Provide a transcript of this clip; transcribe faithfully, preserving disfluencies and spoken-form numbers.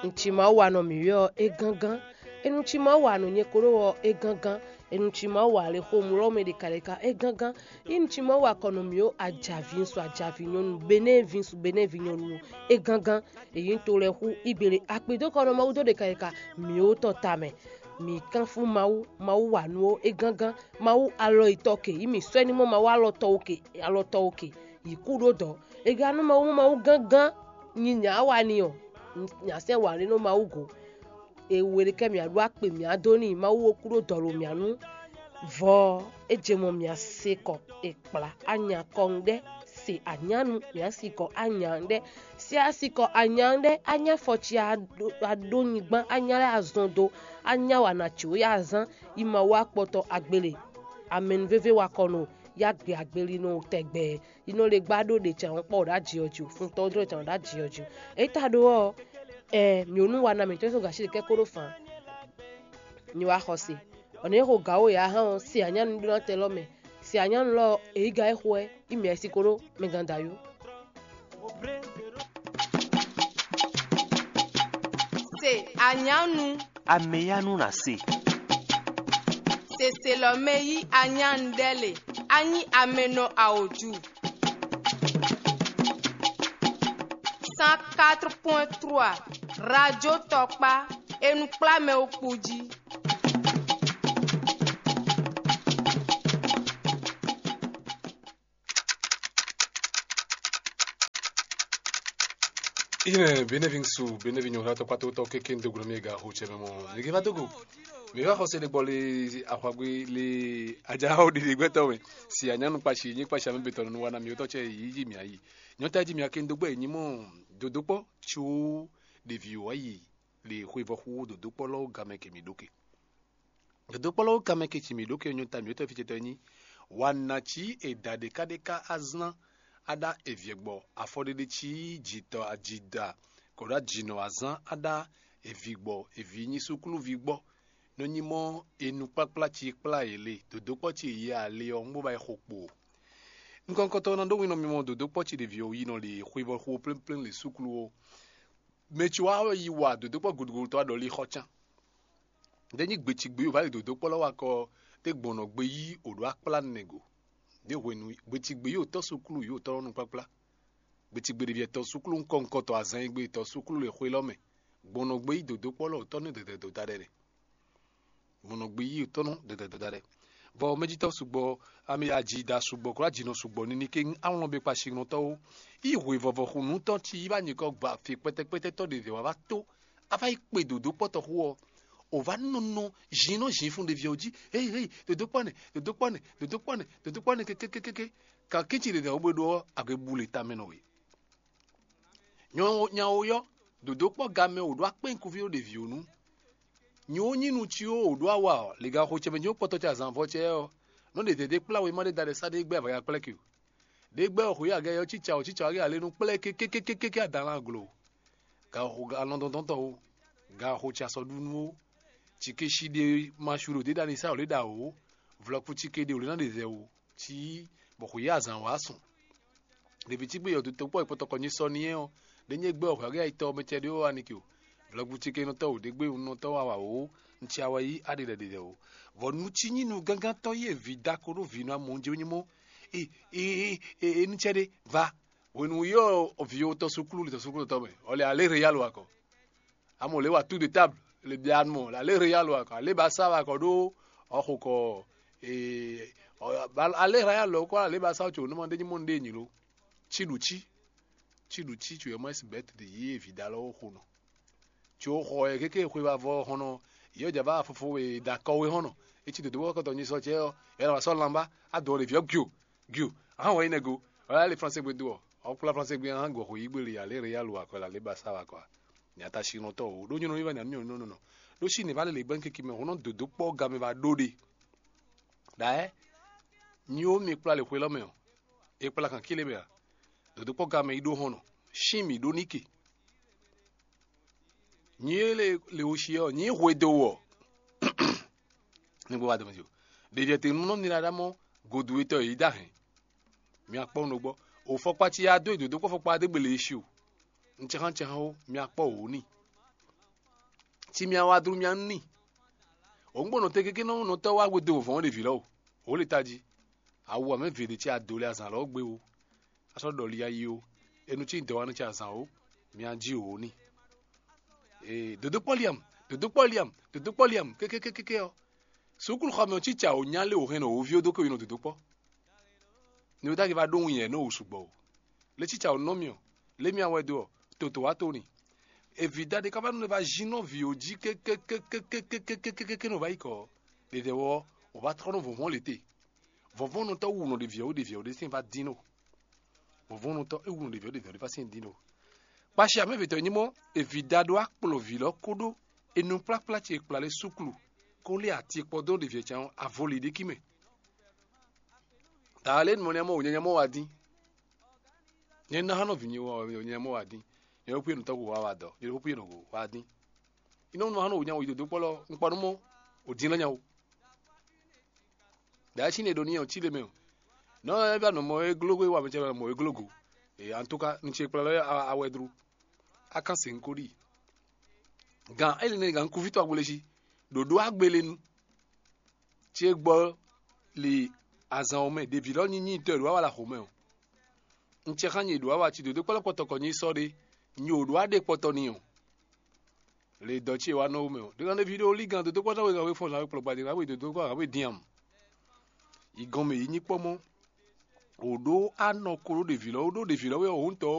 Un cí Mawu wa nɔ mǐ ɔ́, é gángán. Enu cí Mawu wa nɔ nyɛ kó ɖó ɔ́, é gángán. Enu cí Mawu wa le xomlɔ́ mɛ ɖeka ɖeka, é gángán. Enu cí Mawu wa kɔ nɔ mǐ ó, ajaví ŋsu ajaví nyɔ́nu, benɛ́ ví ŋsu benɛ́ ví nyɔ́nu, é gángán. Èyí ń to lɛ́ xú ígbele akpedókɔnɔ Mawu dó ɖeka ɖeka mǐ ó tɔn tamɛ. Mǐ kánfú Mawu, Mawu wa nǔ ó, é gángán. Mawu alɔ yi tɔ ke, yi mǐ sɔ́ ní mɔ Mawu alɔ tɔ ó ke, alɔ tɔ ó ke, yi kú ɖó dɔ̌. È ga nú Mawu mɔ Mawu gángán, nyi nyǎ wa ni ɔ́, nyǎ sɛ́ wǎ lé nú Mawu go. È we ɖe kɛ mǐ á ɖó akpe mǐ á dó n'i, Mawu ó kú ɖó dɔ̌ lo mǐ á nú. Vɔ ɔ́, é je mɔ mǐ á se kɔ è kplá anya kɔ ŋɖɛ́, se anyánu mǐ á si kɔ anya ŋɖɛ́, se á si kɔ anya ŋɖɛ́, anya fɔ ce á ɖó á ɖó nyigban, anya lɛ́ɛ á zɔn dó, anya wa nǎ có yá azán, yi Mawu akpɔtɔ agbele, amɛnúvévé wa kɔ nɔ yá gbe agbeli nɔ tɛgbɛ, yi nɔ lé gbá ɖó ɖe can kpɔ ɖo aji ɔ́ jí, fun tɔn dó can ɖo aji ɔ́ jí. É ta ɖó ɔ́, ɛ mǐ ó nú wa ná mǐtɔn sɔ́ gǎ sí ɖe kɛ́ kó ɖó fan. Nyi wá xɔ se. Ɔ nɛ̌ xo gǎ wo yǎ hán ɔ́, se anyánu ɖó ná tɛ lɔ mɛ. Se anyánu lɔ ɔ́, èyí ga é xo wɛ, yi mǐ ɛ́ sí ko ɖó mɛ gán da yó. Se anyánu. Ameyanu na se. Seselɔmɛ yí anyánu ɖɛ le, anyi amenɔ aoju. Cent quatre point trois, Radio Tɔkpa, e nɔ kplá mɛ wo kpo jí. Ine benevinsu benevinyo hla tɔkpatotɔ keke ndo gblɔ mi ga ho tsɛ mɛ mɔ nige va dogo. Mi va xɔse ɖe gbɔ le axwagbe le ajawo ɖiɖi gbɛtɔ mɛ. Si anyanu kpashi nyi kpashi ame betɔ nunu wana mi wotɔ tsɛ yi yi mi ayi. Nyɔta ji mi ake ndo gbɛ nyi mɔ dodokpɔ tso ɖevi wa yi le xwevɔ xu dodokpɔ lɔ game ke mi ɖoke. Dodokpɔlɔwo kanmɛ ke ci mǐ ɖó ke nyɔta mǐtɔn fí ce tɔn nyí. Wa nǎ cí è da ɖěkáɖéká azán aɖá evyɛ́gbɔ afɔɖéɖé cí jǐtɔ ajida kɔɖó ajinɔ azán aɖá evigbɔ evi nyi súkluví gbɔ. Nɔ nyí mɔ enukplakplá ci kplá yě le dodokpɔ́ ci e yě ali ɔ́ un bó ba yi xo kpo. Nukɔntɔn ná ɖó winɔ mimɔ dodokpɔ́ ci ɖevi ɔ́ yi nɔ le xwevɔ xo plémplém le súklu ó. Mɛ ci wá yi wa dodokpɔ́ gudugudu tɔn aɖɔlí xɔ cán. Ɖé nyí gbecigbe yi wǒ va yi dodokpɔ́ lɔ wá kɔ ɖé gbɔn nɔ gbe yí wǒ ɖó akplá nɛgo. Ɖé hwenu gbecigbe yi wǒ tɔ́ súklu yi wǒ tɔ́ nɔ nukplakplá. Gbecigbe ɖě tɔ́ súklu ŋkɔ ŋkɔ tɔn azan e gbe tɔ́ súklu le xwe lɔ mɛ. Gbɔn nɔ gbe yí dodokpɔ́ lɔ wǒ tɔ́ nú dɛdɛ dodá ɖɛ nɛ. Gbɔn nɔ gbe yí wǒ tɔ́ nú dɛdɛ dodá ɖɛ. Vɔ mɛjitɔ́ sugbɔ, ami aji da sugbɔ, klo ajinɔ sugbɔ nini ke awlɔn be kpashi nɔtɔ́ ó. Yi hwe vɔvɔ xu nǔtɔn ci yi va nyikɔ gba fi kpɛtɛkpɛtɛ tɔ́ ɖě wá va tó. A va yi kpe dodokpɔ́tɔ́ xú ɔ́, o va nɔ nɔ zin nɔ zin fún ɖevi ɔ́ jí. Hei hei, dodokpɔ́ nɛ, dodokpɔ́ nɛ, dodokpɔ́ nɛ, dodokpɔ́ nɛ kékékéké. Kan kínci ɖě dɛ̌ bó ɖó ɔ́, a gbe bu le tamɛ nɔ we. Nyawo yɔ́, dodokpɔ́ gamɛ wǒ ɖó akpɛ́nkuví ɖo ɖevi ɔ́ nu. Nyi wǒ nyí nu ci wǒ wǒ ɖó awa ɔ́, le gan xo ce mɛ nyí kpɔtɔ ce azǎn vɔ ce ɔ́, nɔ ɖe dɛ̌dɛ́ kplá wěma ɖé da ɖɛ sá ɖé gbɛ́ avɔya kplɛ́ ke o. Ɖé gbɛ́ ɔ́ xwǐ agɛ ɔ́ cí ca ɔ́ cí ca ɔ́ gé alé nú kplɛ́ kékékékéké adan lan glo. Gan xo alɔn dɔndɔn tɔn o, gan xo ce asɔ ɖu nú o. Cike shi ɖe ma su ɖo ɖě ɖa ni sá wǒ lě ɖa o, vlɔkpu cike ɖe wǒ lě ná ɖe zɛ o. Cí bɔ xwǐ azǎn wá sɔn. Ɖevi cí gbé yɔdu tokpɔ e kpɔtɔkɔ nyi sɔ n'i ɔ́, ɖé nyí gbé ɔhwɛ gé ayitɔ mɛ cɛ ɖé wá ni ke o. Vlɛgu cí ke nɔtɔ o ɖé gbé nɔtɔ wá wá o, un ci awa yí aɖe ɖe ɖe o. Vɔ nu cí nyí nu gángán tɔ́ yí evi da ko ɖó vǐ nɔ amɔ jɛ nyí mɔ. E e e e nu cɛ ɖé va. Hwenu yɔ vi o tɔ suklu le tɔ suklu tɔ mɛ. Ɔlɛ alé re yalo akɔ. Amo le wa tout de table le bia mɔ la le real wa kɔ ale ba sa wa kɔ ɖo ɔxo kɔ ee ale real lɔ kɔ ale ba sa tso numa ɖe nyi mɔ ɖe nyi lo. Tsi ɖu tsi tsi ɖu tsi tso yɛ mɔ esi bɛt de yi evi da lɔ xo nɔ. Tso xɔ yɛ keke xwe va vɔ xɔnɔ yɛ dza va fofo we da kɔ we xɔnɔ. Etsi dodo wɔ kɔtɔ nyi sɔ tsɛ yɔ yɛ na wa sɔ lanba adɔ le viɔ gio. Gio, ahan wɔ yi nɛ go. Ɔlɛ ali français gbe do ɔ, ɔkpla français gbe ahan gɔ xo yi gbeli ale real wa kɔ la le ba sa wa kɔ. Nya ta si nɔ tɔ o ɖo nyɔnɔ mi va nya nyɔnɔ nɔ nɔ. Ɖo si ne va le le gbɛn keke mɛ ho nɔ dodo kpɔ game va ɖo ɖe. Ɖa ɛ. Nyi wo mi kpla le xwe lɔ mɛ ɔ. E kpla kan kile mɛ a. Dodo kpɔ game yi ɖo hɔn nɔ. Sin mi ɖo nike. Nyi le le wo si ɔ, nyi hwe do wɔ. Nígbó wá dɔmɛ o. Ɖevi ɛtɛ nu nɔ nira ɖa mɔ godu etɔ yi da hɛn. Mi akpɔ no gbɔ. O fɔkpa ci ya do edo do kpɔ fɔkpa de gbele esi o. Ntsɛhan ntsɛhan o, mi akpɔ o ni. Ci mia wá dlú mia nú n'i. Òun gbɔn nɔtɛn kéké nɔ nɔtɔ́ wá hwedó vɔ̌n ɖe vǐ lɔ o. Wǒ le tají. Awu amɛ vě ɖé ce adǒ lɛ azǎn lɔ gbé o. A sɔ́ ɖɔ li ayi o. Enu cí dɔ̌ wa nɔ ce azǎn o. Mia jí wǒ n'i. Ee, dodokpɔ́ liam, dodokpɔ́ liam, dodokpɔ́ liam, kékékékéké ɔ́. Sukúluxɔmɛ ɔ́ cíca wǒ nya lé wǒ hɛn nɔ wǒ ví ó dó ko yi nɔ dodokpɔ́. Ni wǒ dagi va ɖó wun yɛ nɔ wǒ sugbɔ o. Lé cíca wǒ nɔ mì ɔ́, lé mì awɛ dó ɔ́, toto wá to ni. Evi da ɖé ká va nɔ va jí nɔ vǐ ó jí kékékékékékékékékéké nɔ va yi kɔ ɔ́, ɖeɖe wɔ ɔ́, wǒ va trɔ́ nɔ vɔ̌nvɔ́n lě te. Vɔ̌nvɔ́nnutɔ́ wu nɔ ɖe vǐ ɔ́ wú ɖe vǐ ɔ́ ɖésín va dín nɔ. Vɔ̌nvɔ́nnutɔ́ e wu nɔ ɖe vǐ ɔ́ ɖe vǐ ɔ́ ɖé va sín dín nɔ. Kpashi amɛ́vǐtɔ́ nyí mɔ́, evi da ɖó akplɔ vǐ lɔ kóɖó enukplakpla ce kplá lé súklu, kó lé ati kpɔ́ dó ɖe vǐ ɔ́ can ɔ́, avɔ lě ɖé kí mɛ. Taa lě mɔ nyamɔ wò nyanya mɔ wá dín. Nyɛ ná hánɔ vǐ nyɛ wɔ nyanya mɔ wá dín. Nyɛ ɖokpó nɔ tɔ́ wá wá dɔ, nyɛ ɖokpó nɔ wá dín. Inɔ nɔ hánɔ wò nya wò yi dodokpɔ́ lɔ, un kpɔ nú mɔ wò dín lɔ nya wò. Ɖa é sín ne ɖo ní ɔ́ cí le mɛ o. Nɔ ɛ bá nɔ mɔ é glógó é wa mɛ cɛ mɔ é glógó. E an tó ká nu ce kplá lɔ awɛ dru. A kan se ŋkó ɖi. Gan é le ne gan kúvítɔ agbole sí. Ɖoɖó agbele nu. Tí é gbɔ li azan ɔ́ mɛ ɖevi lɔ nyí nyitɔ e ɖo awa la xomɛ o. Un cɛ xá nyɛ ɖo awa ci dodó kpɔ́lɔ́ kpɔtɔ kɔ nyí sɔ ɖé. Nyɛ ò ɖo aɖe kpɔtɔ ni o. Le dɔ ce wa nɔ wo mɛ o ɖe kan ɖevi ɖo ligan dodó kpɔtɔ wɛ kan wɛ fɔn zan wɛ kplɔ gbadé kan wɛ dodó kpɔtɔ kan wɛ diam. Yi gɔn mɛ yi nyí kpɔmɔ. O ɖo anɔ ko ɖo ɖevi lɔ o ɖo ɖevi lɔ wɛ o ŋutɔ o.